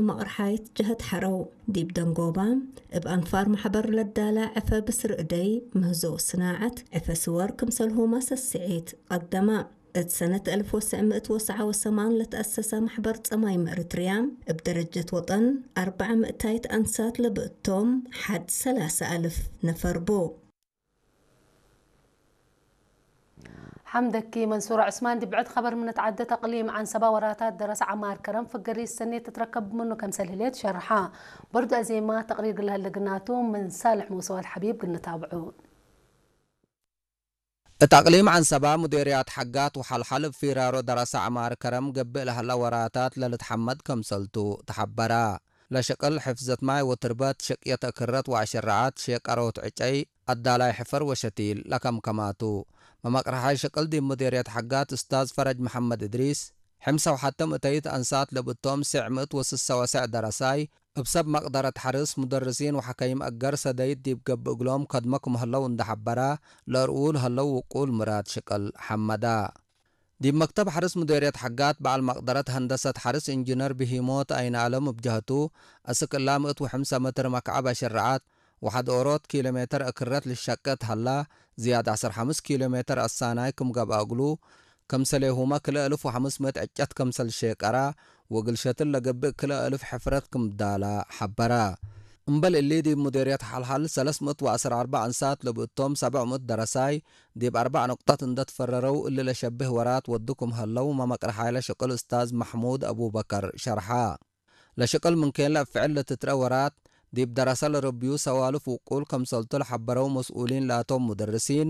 መቕርሓይት ጀህት ሓረው ዲብ ደንጎባ እብ ኣንፋር ማሕበር ለዳላ ዕፈ ብስር እደይ ምህዞ ስናዓት ዕፈ ስወር ክምሰልሁማ ሰስዒት ቀደማ። እት ሰነት እልፍ ወሰዕ ምእት ወሰዓ ወሰማን ለተኣሰሰ ማሕበር ጸማይም እርትርያ እብ ደረጀት ወጠን ኣርብዓ ምእታይት ኣንሳት ለብእቶም ሓድ ሰላሳ ኣልፍ ነፈር ቡ። ሓምደኪ መንሱር ዑስማን። ዲብ ብዕድ ኸበር ምነት ዓደ ተቅሊም ዓንሰባ ወራታት ደረሰ ዓማር ከረም ፍገሪ ሰኔት ትትረከብ ምኑ ከምሰል ህሌት ሸርሓ። በርዱ ኣዜማ ተቅሪር ግልሃል ለግናቱ ምን ሳልሕ መውሰዋል ሓቢብ ግንታብዑ። እት ኣቅሊም ዓንሰባ ሙዴርያት ሓጋት ወሓልሓል እብ ፊራሮ ደረሰ ዓማር ከረም ገብእ ለሀላ ወራታት ለልትሓመድ ከምሰልቱ ተሓበራ። ለሸቅል ሕፍዘት ማይ ወትርበት፣ ሸቅየት እክረት ወአሸራዓት፣ ሼቀሮት ዕጨይ፣ አዳላይ ሕፈር ወሸቲል ለከምከማቱ። መመቅርሓይ ሸቅል ዲብ ሙዴርየት ሓጋት እስታዝ ፈረጅ መሐመድ እድሪስ፣ ሕምሳ ወሓተ ምእተይት አንሳት ለብእቶም ሴዕ ምእት ወስሰ ወሴዕ ደረሳይ፣ እብ ሰብ መቅደረት ሐርስ፣ ሙደርሲን ወሐከይም አገር ሰደይት ዲብ ገብእ እግሎም ከድመ ክም ህለው እንደ ሐበራ፣ ለእርኡ ለህለው ውቁል ምራድ ሸቅል ሐመዳ። ዲብ መክተብ ሐርስ ሙዴርየት ሐጋት በዓል መቅደረት ሀንደሰት ሐርስ ኢንጂነር ብሂሞት አይንአለም እብ ጀሀቱ፣ አስክ እላ ምእት ወሐምሳ መትር መክዓብ አሸረዓት፣ ወሐድ ኦሮት ኪሎ ሜትር እክረት ልሸቅት ሀላ፣ ዝያድ ዐስር ሐምስ ኪሎ ሜትር አሳናይ ክም ገብአ እግሉ፣ ከምሰሌሁመ ክልኤ እልፍ ወሐምስ ምእት ዕጨት ከምሰል ሼቀራ፣ ወእግል ሸትል ለገብእ ክልኤ እልፍ ሕፍረት ክም ዳላ ሐበራ። እምበል እሊ ዲብ ሙዴርየት ሐልሐል ሰለስ ምእት ወዐስር አርበዕ አንሳት ለብእቶም ሰብዕ ምእት ደረሳይ፣ ዲብ አርበዕ ነቁጣት እንደ ትፈረረው እሊ ለሸብህ ወራት ወዱ ክም ሀለው መመቅርሓይ ለሸቅል እስታዝ መሕሙድ አቡበከር ሸርሓ። ለሸቅል ምን ኬን ለአፍዕል ለትትረ ወራት፣ ዲብ ደረሰ ለረብዩ ሰዋልፍ ውቁል ከምሰልቱ ለሐበረው መስኡሊን ላቶም ሙደርሲን፣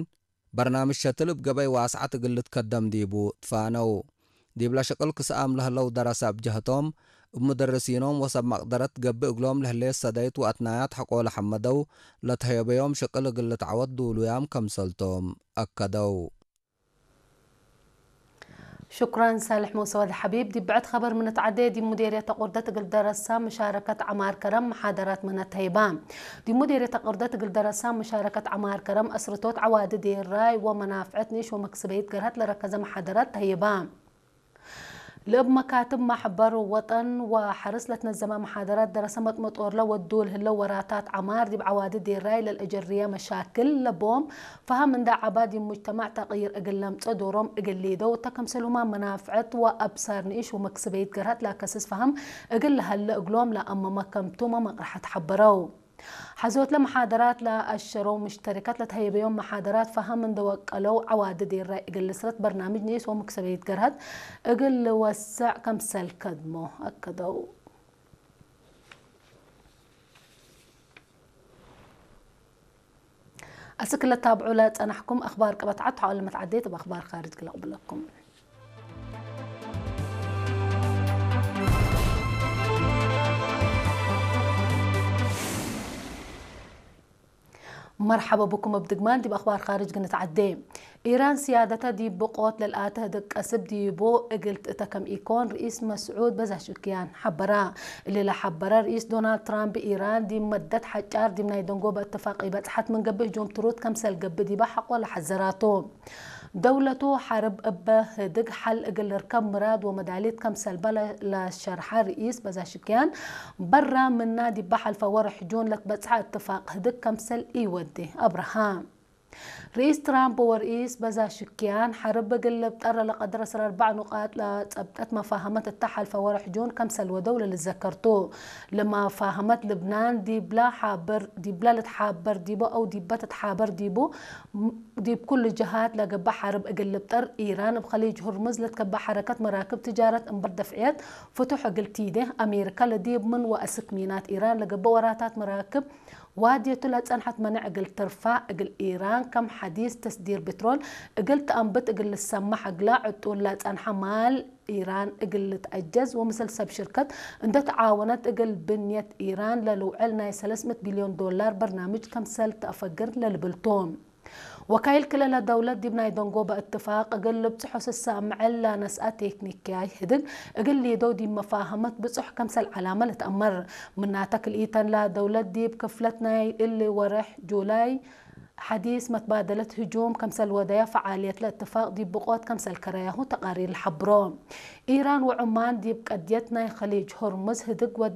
በርናምጅ ሸትል እብ ገበይ ዋስዓት እግል ልትከደም ዲቡ ትፋነው። ዲብለ ሸቅል ክስኣም ለህለው ደረሰ እብ ጀህቶም፣ እብ ሙደርሲኖም ወሰብ መቅደረት ገብእ እግሎም ለህሌት ሰደይት ወአትናያት ሐቆ ለሐመደው፣ ለተህየበዮም ሸቅል እግል ልትዓወት ዱሉያም ከምሰልቶም አከደው። ሽኩራን ሳልሕ መውሰወድ ሐቢብ። ዲብ ብዕድ ኸበር ምንትዓዴ፣ ዲብ ሙዴርየት ተቁርደት እግል ደረሳ ምሻረከት ዐማር ከረም መሓደራት መነት ተህይባ። ዲብ ሙዴርየት ተቁርደት እግል ደረሳ ምሻረከት ዐማር ከረም፣ አስርቶት ዐዋዲ ዴራይ ወመናፍዐት ኒሽ ወመክስበይት ገርሀት ለረከዘ መሓደራት ተህይባ። ለእብ መካትብ ማሕበር ወጠን ወሐርስ ለትነዘመ መሓደራት ደረሰ መጥመጦርለ ወዱ ለህለው ወራታት ዐማር ዲብ ዐዋዲ ዴራይ ለልአጀርየ መሻክል ለቦም ፈሀም እንዳ ዐባ ዲብ ሙጅተማዕ ተቅይር እግል ለምጸእ ዶሮም እግል ሊደው እተ ከምሰልሁማ መናፍዐት ወአብሳር ንኢሽ ወመክስበይት ገርሀት ላከስስ ፈሀም እግል ለሀለ እግሎም ለአመመ ከምቱመ መቅርሐት ሐበረው። ሐዞት ለመሓደራት ለአሸረው ሙሽተሪከት ለተሀየበዮም መሓደራት ፈሀም እንደ ወቀለው ዐዋዲ ዴራይ እግል ልስረት በርናምጅ ንኢስ ወመክሰበይት ገርሀት እግል ልወሰዕ ከምሰል ከድሞ አከደው። አስክ ለታብዑ ለጸናሕኩም አኽባር ቀበት ዐድ ተሓወለ መትዓዴት እብ አኽባር ካርጅ ክለቅብለኩም። መርሐበ ብኩም እብ ድግማን ዲብ አኽባር ካርጅ ግንትዓዴ። ኢራን ስያደተ ዲብ ብቆት ለልአተ ህድግ ቀስብ ዲቡ እግል ትእተ ከም ኢኮን ርኢስ መስዑድ በዛሽክያን ሐበራ። እሊ ለሐበረ ርኢስ ዶናልድ ትራምፕ ኢራን ዲብ መደት ሐጫር ዲብ ናይ ደንጎበ እትፋቅ ኢበጽሐት ምን ገብእ ህጁም ትሩድ ከምሰል ገብእ ዲበ ሐቆ ለሐዘራቱ። ደውለቱ ሐርብ እበ ህድግ ሐል እግል ልርከብ ምራድ ወመዳሊት ከምሰልበ ለ-፣ ለሸርሐ ርኢስ በዛሽክያን፣ በራ ምና ዲበ ሐልፈ ወርሕ ጁን ለትበጽሐ እትፋቅ ህድግ ከምሰል ኢወዴ አብርሃ። ርኢስ ትራምፕ ወርኢስ በዛሽክያን ሐርብ እግል ልብጠር ለቀድር ዕስራ አርባዕ ኑቃጥ ለጸብጠት መፋሀመት እተ ሐልፈ ወርሕ ጁን ከምሰል ወደው ለልዘከርቱ። ለመፋሀመት ልብናን ዲብላ ሐበር፣ ዲብላ ልትሓበር ዲቡ አው ዲበ ትትሓበር ዲቡ፣ ዲብ ኩሉ ጀሃት ለገብእ ሐርብ እግል ልብጠር፣ ኢራን እብ ኸሊጅ ሁርሙዝ ለትከበእ ሐረከት መራክብ ትጃረት እምበር ደፍዕየት ፍቱሕ እግል ቲዴ፣ አሜሪካ ለዲብ ምን ወአስክ ሚናት ኢራን ለገብእ ወራታት መራክብ ዋድየቱ ለጸንሐት መነዕ እግል ትርፋዕ፣ እግል ኢራን ከም ሐዲስ ተስዲር ብትሮል እግል ተአንብት እግል ልሰማሕ እግላ ዕጡል ለጸንሐ ማል ኢራን እግል ልትአጀዝ ወምስል ሰብ ሽርከት እንደ ተዓወነት እግል ብንየት ኢራን ለልውዕል ናይ ሰለስ ምእት ቢልዮን ዶላር በርናምጅ ከምሰል ተአፈግር ለልብልቱ። ወካይል ክልኤ ለደውለት ዲብ ናይ ደንጎበ እትፋቅ እግል ልብጽሖ ስሰ ምዕል ለነስአ ቴክኒክያይ ህድግ እግል ሊደው ዲብ መፋሀመት ብጹሕ ከምሰል ዐላመ ልትአመር። ምናተ ክልኢተን ለደውለት ዲብ ክፍለት ናይ እሊ ወርሕ ጁላይ ሐዲስ መትባደለት ህጁም ከምሰል ወደያ ፈዓልየት ለእትፋቅ ዲብ ብቆት ከምሰል ከረያሁ ተቃሪር ለሐብሮ። ኢራን ወዑማን ዲብ ቀድየት ናይ ኸሊጅ ሆርሙዝ ህድግ ወዲ